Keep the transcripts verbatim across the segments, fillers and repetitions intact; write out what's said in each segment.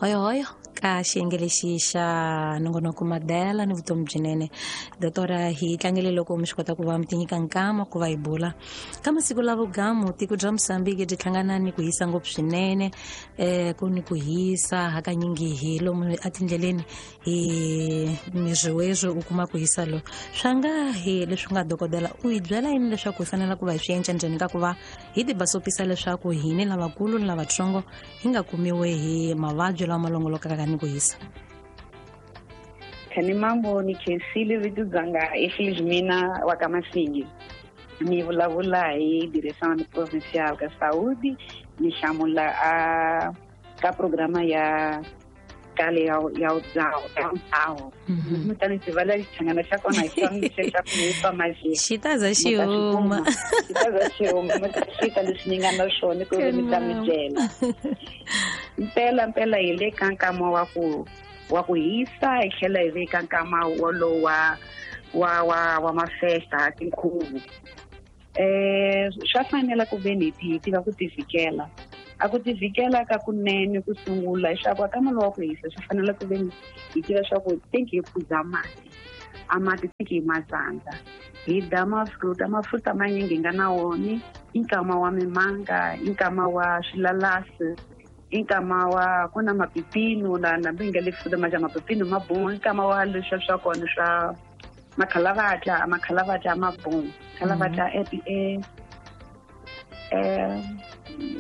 Hoyohoyo ka xiyenge lexi xa nongonoko Madela ni vutomi byinene. Doctora, hi tlangele loko mi swi kota ku va mi tinyika nkama ku va hi bula ka masiku la vugamu. Tiko bya Mozambique byi hlangana ni ku hisa ngopfu swinene, um ku ni ku hisa hakanyingi hi lomu etindleleni hi mizwiwezwi u kuma ku hisa lo swa nga hi leswi nga dokodela u hi byela yini leswaku hi fanele ku va hi swi endla njhani ka ku va hi tibasopisa leswaku hini lavakulu ni lavatsongo hi nga kumiwe hi mavabyi lawa ma longolokaka ni ku hisa? Khani mambo ni khensile vito dzanga i Felizmina wa ka Masingi. Ni vulavula hi Direção Provincial ka Saúde, ni hlamula a ka programa ya kale ya ya udzawo ya udzawo. Mi ta ni tiva la xichangana xa kona hi xona lexi xa ku hi maji. Xi ta za xi huma. Xi ta za xi huma, mi ta xita leswi ni nga na swona ku ri mi ta mi byela. Mpela mpela hi le ka nkama wa ku wa ku hisa, hi tlhela hi veka nkama wolowo wa wa wa wa mafesta tinkhuvo. Eh swa fanela ku ve ni hi tiva ku tivikela. A ku tivikela ka kunene ku sungula leswaku aka mali wa ku hisa swi fanele ku ve ni hi tiva swa ku thinki hi phuza mati. A mati thinki hi matsandza. Hi dya mafruta, mafruta manyingi hi nga na wona, i nkama wa mimanga, i nkama wa swilalasi, i nkama wa ku na mapipino la na mi nga le fruta ma ja mapipino ma boha, i nkama wa leswiya swa kona swa makhalavatla, makhalavatla ma boha. Khalavatla e e eh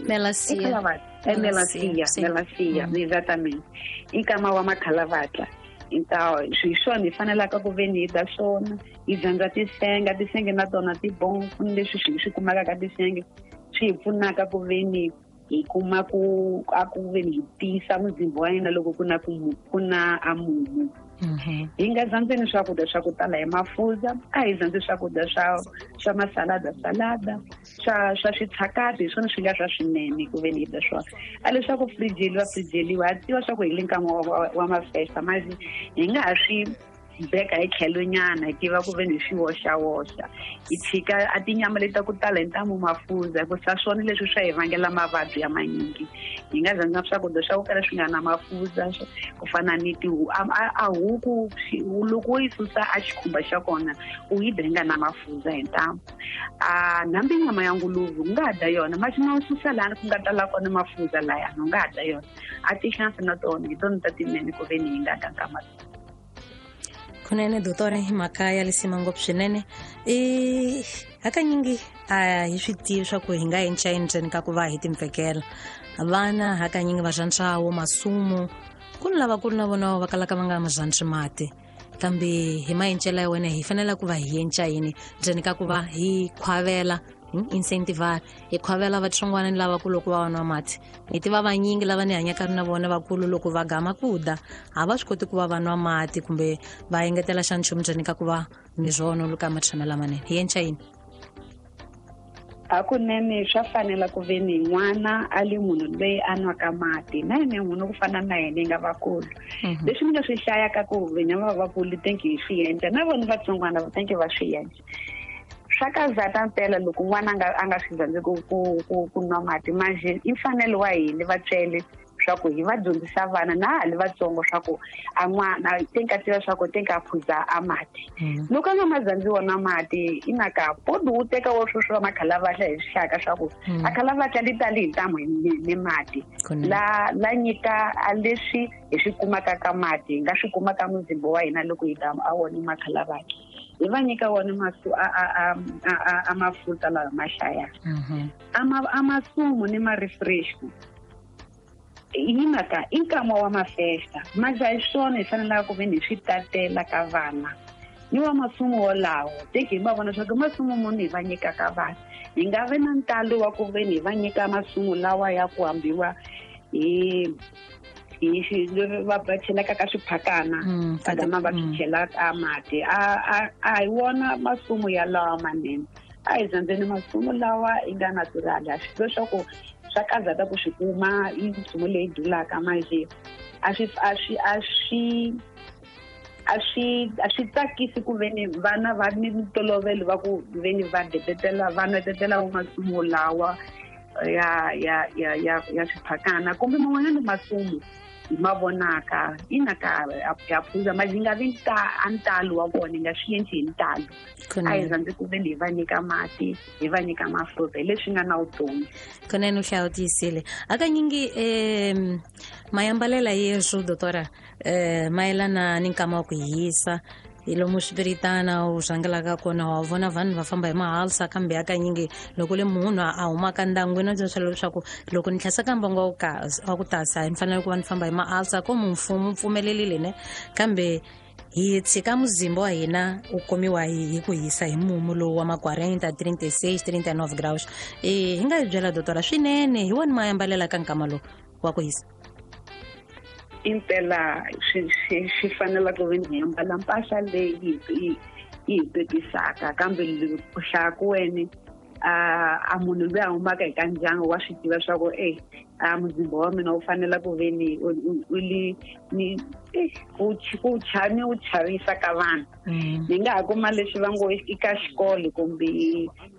Melancia. É melancia, melancia, exatamente. I nkama wa makhalavatla. Então, hi swona hi fanelaka ku ve ni hi dya swona, hi dyondza tisenga, tisenge na tona ti bon, ku ni leswi swi swi kumaka ka tisenge swi hi pfunaka ku ve ni hi kuma ku a ku ve ni hi tiyisa muzimba wa hina loko ku na ku ku na a mumu. Hi nga dyondzeni swakudya swa ku tala hi mafurha, a hi dyondzi swakudya swa swa masalada salada, swa swa switshakati, hi swona swi nga swa swinene ku ve ni hi dya swona. A leswaku frijeliwa frijeliwa, ha tiva swa ku hi le nkama wa, wa, wa mafesta, manje hi nga ha swi beka hi tlhelo nyana, hi tiva ku ve ni hi swi woxawoxa. Hi tshika a tinyama leti ta ku tala hi ntamu mafurha, hikusa swona leswi swa hi vangela mavabyi ya manyingi. Hi nga dyondza swakudya swa ku kala swi nga na mafurha, ku fana ni tihu a, a, a huku, loko wo yi susa a xikhumba xa kona, u yi dya yi nga na mafurha hi ntamu. A nambi nyama ya nguluve u nga ha dya yona, masi ma susa lani ku nga tala kona mafurha layani, u nga ha dya yona. A tihlampfi na tona hi tona ta tinene ku ve ni hi nga dya nkama. Kunene doctora, hi mhaka ya lisima ngopfu swinene. I hakanyingi a hi swi tivi swa ku hi nga endla yini ndzeni ka ku va hi timpfekela. Vana hakanyingi va rhandza wo masumu, ku ni lavakulu na vona va kalaka va nga ma rhandzi mati. Kambe hi maencelo ya wena hi fanele ku va hi endla yini ndzeni ka ku va hi khwavela, incentive hi khwavela vatsongwana ni lavakulu loko va nwa mati. Hi tiva vanyingi lava ni hanyaka na vona vakulu loko va gama ku dya a va swi koti ku va va nwa mati kumbe va engetela xa nchumu ndzeni ka ku va ni swona luka matshama lamanene. Hi endla yini? Hakunene swa fanela ku ve ni n'wana a li munhu loyi a nwaka mati, na yena munhu ku fana na yena hi nga vakulu. Leswi ni nga swi hlayaka ku venya va vakulu thinki hi swi endla, na vona vatsongwana va thinki va swi endla. Swa kazata mpela loko n'wana a nga a nga swi rhandzi ku ku ku ku nwa mati, manje i mfanelo wa hina vatswele swa ku hi va dyondzisa vana na ha li vatsongo swa ku a n'wana thinki a tiva swa ku thinki a phuza a mati. Loko a nga ma rhandzi wona mati, i na ka podi wu teka wo sweswo wa makhalavatla hi swihlaka swa ku a khalavatla li tali hi ntamu hi ni mati. La la nyika a leswi hi swi kumaka ka mati, hi nga swi kumaka muzimba wa hina loko hi dya a wona makhalavatla. Hi va nyika wona masu a a a a a mafuta lawa ma hlayaka. A ma a masumu ni ma refresh. Hi mhaka i nkama wa mafesta, manje a hi swona hi fanelaka ku ve ni hi swi tatela ka vana. Ni wa masumu wolawo, teki hi va vona swa ku masumu muni hi va nyikaka vana. Hi nga vi na ntalo wa ku ve ni hi va nyika masumu lawa ya ku hambiwa hi hi xi va va chelaka ka swiphakana, va gama va swi chelaka mati. A a a hi wona masumu ya lawa manene. A hi dyondzeni masumu lawa yi nga natural. A swi leswaku swa kazata ku swi kuma i nchumu leyi dulaka manje a swi a swi a swi a swi a swi tsakisi ku ve ni vana va ni ntolovelo va ku ve ni va detetela va nwetetela masumu lawa ya ya ya ya ya swiphakana kumbe man'wanyana masumu hi ma vonaka ina ka ya phuza ma yi nga vi a ntalo wa vona hi nga swi endli hi ntalo. A hi rhandzi ku veni hi va nyika mati, hi va nyika mafurha hi leswi nga na vutomi. Kunene u hlawutisile. Hakanyingi um mayambalela yesu doctora um mayelana ni nkama wa ku hisa hi lomu swipiritana u rhangelaka kona wa vona vanhu va famba hi mahalsa, kambe hakanyingi loko le munhu a humaka ndyangwini a byela leswaku loko ni tlhasa ka mbangu wa ku tasa ni fanele ku va ni famba hi mahalsa ko mfumo pfumelelile ne, kambe hi tshika muzimba wa hina u komiwa hi ku hisa hi mumu lowu wa ma quarenta, trinta e seis, trinta e nove graus. E hi nga hi byela doctora swinene hi wona mayambalela ka nkama lowu wa ku hisa? Impela swi swi swi fanela ku ve ni ambala mpahla leyi yi yi pepisaka, kambe ku hlaya ku wena a a munhu loyi a humaka eka ndyangu wa swi tiva swa ku e a muzimba wa mina wu fanela ku ve ni u li ni ku ku chani wu chavisa ka vanhu. Ni nga ha kuma leswi va ngo i ka xikolo kumbe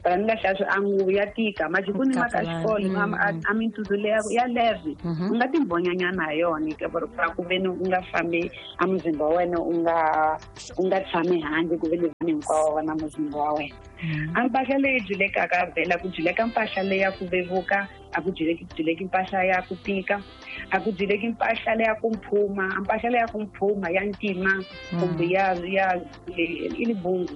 va ni nga hlaya swi a nguvu ya tika majikuni ma ka xikolo a mintutsu leya ya leve u nga timbonyanyana ha yona ka ku ve ni u nga fambi a muzimba wa wena u nga u nga tshami handle ku ve ni vanhu hinkwavo va na muzimba wa wena. A mpahla leyi dyulekaka vhela ku dyuleka mpahla leyi ya ku vevuka, a ku dyuleki dyuleki mpahla ya ku tika, a ku dyuleki mpahla leya ku mphuma, mpahla leya ku mphuma ya ntima kumbe ya ya i libungu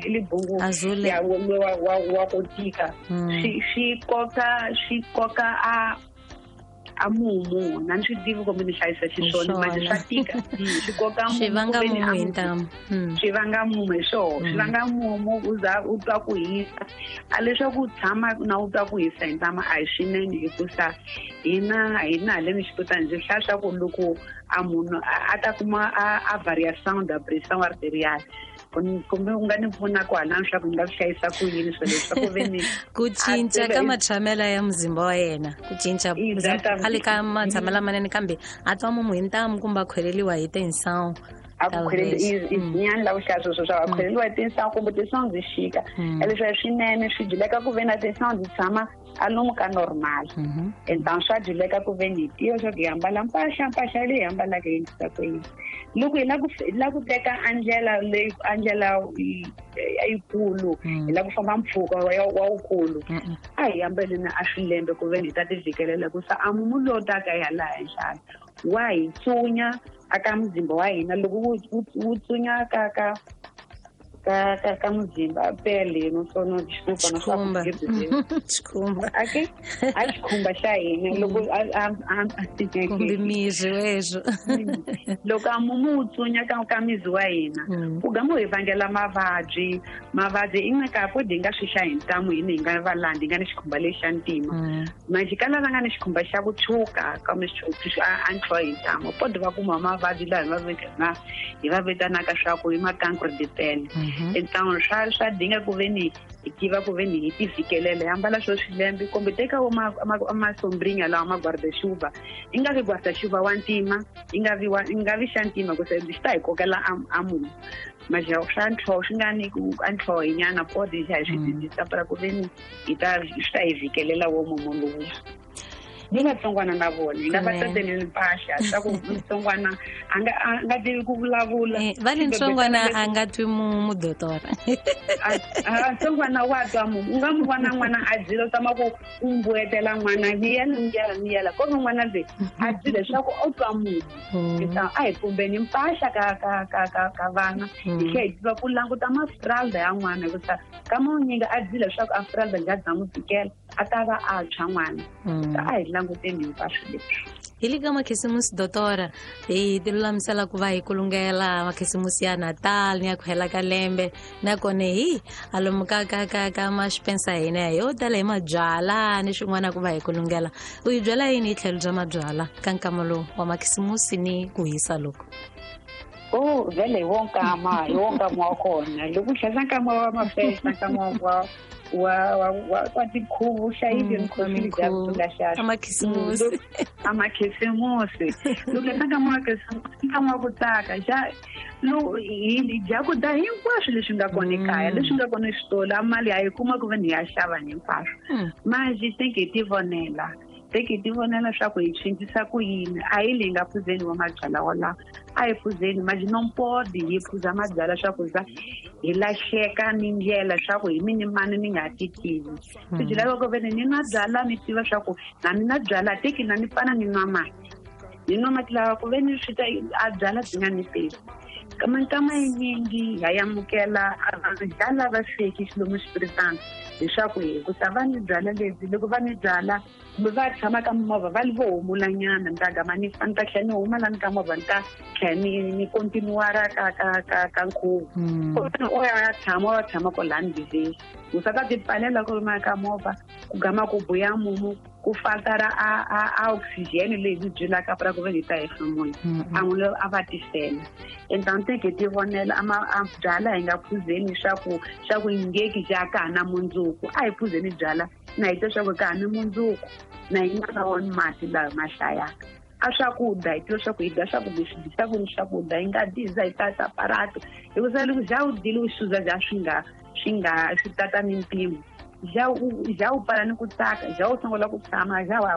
i libungu ya wa wa wa ku tika swi swi koka swi koka a a mumu na ni swi tivi kumbe ni hlayisa xiswona manje swa tika swi koka mumu swi vanga mumu hi ntamu swi vanga mumu hi swona swi vanga mumu u za u twa ku hisa a leswaku u tshama na u twa ku hisa hi ntamu a hi swinene hikusa hina hina haleni xiputani ndzi hlaya swa ku loko a munhu a ta kuma a variação da pressão arterial kumbe u nga ni pfuna kwalano swa ku ni nga swi hlayisa ku yini swilo leswi swa ku ve ni ku cinca ka matshamelo ya muzimba wa yena, ku cinca a le ka matshamelo lamanene kambe a twa mumu hi ntamu kumbe a khweleliwa hi tinsawu a ku khweleliwa la ku hlaya sweswo swa a khweleliwa hi tinsawu kumbe tinsawu byi xika leswi swinene swi dyuleka ku ve na tinsawu byi tshama a lomu ka normal. Então swa dyuleka ku ve ni hi tiva swa ku hi ambala mpahla mpahla leyi hi ambalaka yi endlisa ku yini. Loko hi lava ku lava ku teka a ndlela leyi a ndlela yikulu hi lava ku famba mpfhuka wa wukulu a hi ambeleni a swilembe ku ve ni hi ta ti vikelela ku sa a mumu lowu taka hi hala henhla wa hi tsunya aka muzimba wa hina loko wu tsunya ka ka ka ka ka muzimba pele no sono desculpa não xikhumba xikhumba okay a xikhumba xa hina loko a kumbe miri weswo loko a mumu wu tsunya ka ka mizi wa hina ku gama hi vangela mavabyi mavabyi i nga ka podi hi nga swi hlaya hi ntamu hina hi nga valandi hi nga ni xikhumba lexi xa ntima manjhe ka lava nga ni xikhumba xa ku tshuka kambe a ntlho hi ntamu podi va kuma mavabyi laha hi va hi va vitanaka swa ku i ma cancre de pele. Então swa swa dinga ku ve ni hi tiva ku ve ni hi ti vikelela hi ambala swo swilembe kumbe teka wo ma masombrinha lawa ma guarda-chuva i nga vi guarda-chuva wa ntima i nga vi wa i nga vi xa ntima ku se xi ta hi kokela a mumu mas swa ntlho swi nga ni ku a ntlho hi nyana podi hi swi dyondzisa para ku ve ni hi ta swi ta hi vikelela wo mumu lowuya. Ni vatsongwana na vona hi nga va tateleni mpahla swa ku mutsongwana a nga a nga tivi ku vulavula va le ntsongwana a nga twi mumu doctora a ntsongwana wa twa mumu u nga mu vona n'wana a dzila u tama ku u mbuetela n'wana miyela miyela miyela ko n'wana loyi a dzile leswaku o twa mumu a hi pumbeni mpahla ka ka ka ka ka vana hi tlhela hi tiva ku languta mafralda ya n'wana hikusa ka manyingi a dzile leswaku a fralda nga dza n'wi tikela a ta va a tshwa n'wana a hi languteni hinkwaswo leswi. Hi le ka makhisimusi doctora hi ti lulamisela ku va hi kulungela makhisimusi ya Natal ni ya ku hela ka lembe nakona hi alomu ka ka ka ka maxpensa hina yo tala hi mabyala ni swin'wana ku va hi kulungela. U hi byela yini hi tlhelo bya mabyala ka nkama lowu wa makhisimusi ni ku hisa loko? Oh vele hi wo nkama hi wo nkama wa kona loko u hlayisa nkama wa mafesta nkama wa wa wa wa tinkhuvo hlayile nkhuvo bya amakhisimusi amakhisimusi loko nkama wa khisimusi nkama wa ku tsaka ja lo hi dya ku dya hinkwaswo leswi nga kona ekaya leswi nga kona exitolo a mali a yi kuma ku ve ni ya xava hinkwaswo manje teke hi tivonela teke hi tivonela swa ku hi cincisa ku yini a hi leyi nga phuzeni wa mabyalwa wolawo a hi phuzeni manje nompodi hi phuza mabyalwa swa ku za hi lahleka ni ndlela swa ku hi mini mani ni nga ti tivi swi byi lava ku ve ni nwa byalwa ni tiva swa ku na ni na byalwa teki na ni fana ni nwa mati ni nwa mati lawa ku ve ni swi ta a byalwa byi nga ni tivi kama yinyingi ya yamukela a byalwa va sweki xilomu xipiritana leswaku hi ku ta va ni byalwa lebyi loko va ni byala kumbe va tshama ka movha va li vo humulanyana ni ta gama ni ni ta tlhela ni huma lani ka movha ni ta tlhela ni ni kontinuara ka ka ka ka nkhuvo o ya tshama wa tshama kwalani ndleleni u sa ta ti pfalela ku ri ka movha ku gama ku buya mumu ku faltara a a a oxygen leyi byi byelaka pra ku ve hi ta hefemula a n'wi a va tisela então teke ti vonela ama a byala hi nga phuzeni swa ku swa ku ngeki ja ka na mundzuku a hi phuzeni byala na hi twa swa ku ka ni mundzuku na hi nga wona mati lawa ma hlayaka a swakudya hi tiva swa ku hi dya swakudya swi dyisa ku ni swakudya hi nga dyi hi tata aparato hikuva loko ja u dyile u xuza ja swi nga swi nga swi tata ni mpimo já o já o para ni ku tsaka já o sungula ku tshama já wa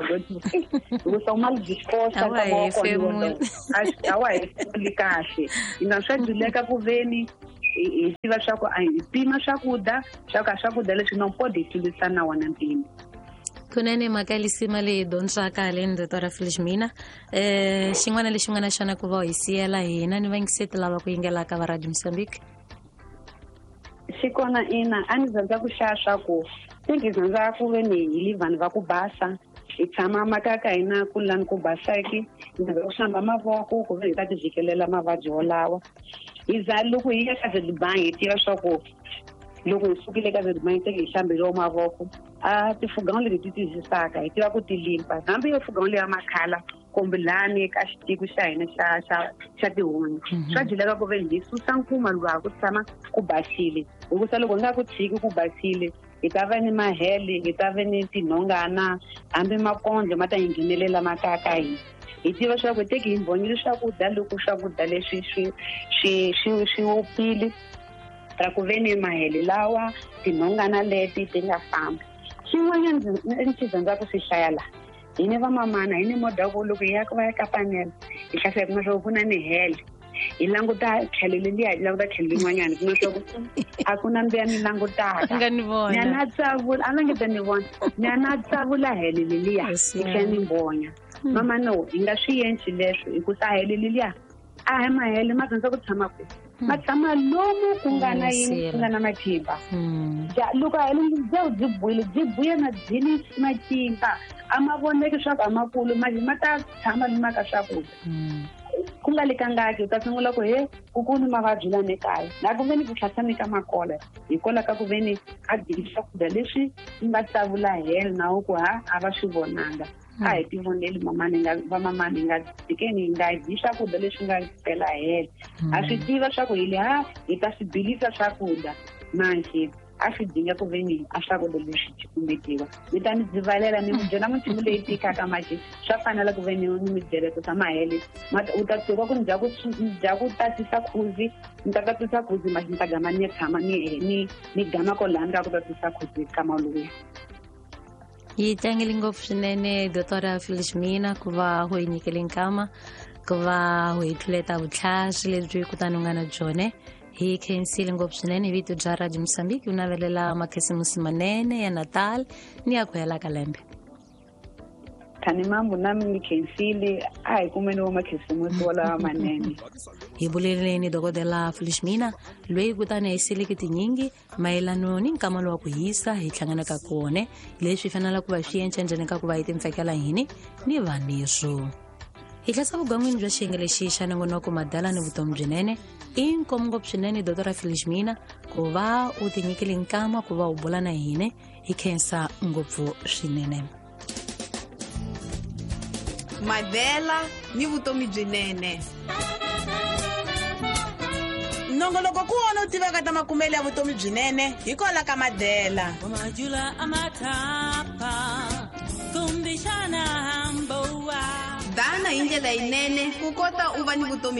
hikuva u mal disposta a wa hefemuli kahle ina swa dyuleka ku veni hi tiva swa ku a hi pima swakudya swa ka swakudya leswi nompodi hi tlulisa na wona mpimo. Kunene mhaka lisima leyi dyondzaka haleni Doctor Felizmina eh xin'wana lexi nga na xona ku va hi siyela hina ni vayingiseti lava ku yingelaka va Radio Mozambique. Xikona ina a ni rhandza ku hlaya swa ku ndzi rhandza ku ve ni hi li vanhu va ku basa hi tshama makaya ka hina ku lani ku basaki hi rhandza ku hlamba mavoko ku ve hi ta ti vikelela mavabyi wolawa hi za loko hi ya ka Zedbank hi tiva swa ku loko hi sukile ka Zedbank teke hi hlambeliwa mavoko a tifuganga leti ti tiyisisaka hi tiva ku ti limpa hambi yo fuganga leya makhala kumbe lani ka xitiko xa hina xa xa xa tihunyi swa dyileka ku ve hi susa nkuma luwa ku tshama ku basile hikusa loko hi nga ku tshiki ku basile hi ta va ni mahele hi ta va ni tinhongana hambi makondlo ma ta hi nghenelela makaya ka hina hi tiva swa ku teki hi mbhonyile swakudya loko swakudya leswi swi swi swi swi wupfile ra ku ve ni mahele lawa tinhongana leti ti nga fambi. Xin'wanyana ndzi xi rhandza ku swi hlaya laha hi ni vamamana hi ni modha ku loko hi ya va ya ka panela hi hlasela kuma swa ku ku na mihele hi languta tlhelo leliya hi languta tlhelo lin'wanyana kuma swa ku a ku na mbiya ni langutaka ni ya na tsavula a langeta ni vona ni ya na tsavula hele leliya hi tlhela ni mbonya mama no hi nga swi endli leswo hikusa hele leliya a hi mahele ma rhandza ku tshama kwihi ma tshama lomu ku nga na yini ku nga na matimba ja loko a hele bya byi buile byi buya na byini matimba a ma voneki swa ku a makulu ma ma ta tshama ni maka swakudya ku nga le kangaki u ta sungula ku he ku ku ni mavabyi lani ekaya na ku ve ni ku tlhasa ka makola hikwalaho ka ku ve ni a dyi swakudya leswi nga tsavula hele na ku ha a va swi vonanga a hi tivoneli mamani nga vamamani hi nga tikeni hi nga dyi swakudya leswi nga pela hele a swi tiva swa ku hi le ha hi ta swi bilisa swakudya manje a swi dinga ku ve ni a swakudya leswi cukumetiwa ni ta ni dzivalela ni mi byela minchumu leyi tikaka manje swa fanela ku ve ni ni mi byela ku ta mahele u ta tshuka ku ni dya ku dya ku tatisa khuzi ni ta tatisa khuzi manje ni ta gama ni tshama ni ni ni gama kwalani ka ku tatisa khuzi ka maluya. Yi tlangele ngopfu swinene Doctor Felizmina ku va ho hi nyikele nkama ku va ho hi tluleta vutlhari lebyi kutani u nga na byone hi khensile ngopfu swinene hi vito bya Radio Mozambique u navelela makhisimusi manene ya Natal ni ya ku hela ka lembe. Thani mambo nami ni khensile a hi kumeni wa makhisimusi walawa manene. Hi buleleni dokodela Felizmina loyi kutani hi sileke tinyingi mayelano ni nkama lowa ku hisa hi hlanganaka kone leswi fanelaka ku va swi endla njhani ka ku va hi timpfekela hini ni vanirho. Hi tlhasa vugangwini bya xiyenge lexi xa nongonoko madala ni vutomi byinene i nkomu ngopfu swinene Doctor Felizmina ku va u tinyikile nkama ku va u bula na hina hi khensa ngopfu swinene. Madela ni vutomi byinene. Nongoloko ku wona u tivaka ta makumelo ya vutomi byinene hi kwala ka Madela. Dana hi ndlela yinene ku kota u va ni vutomi.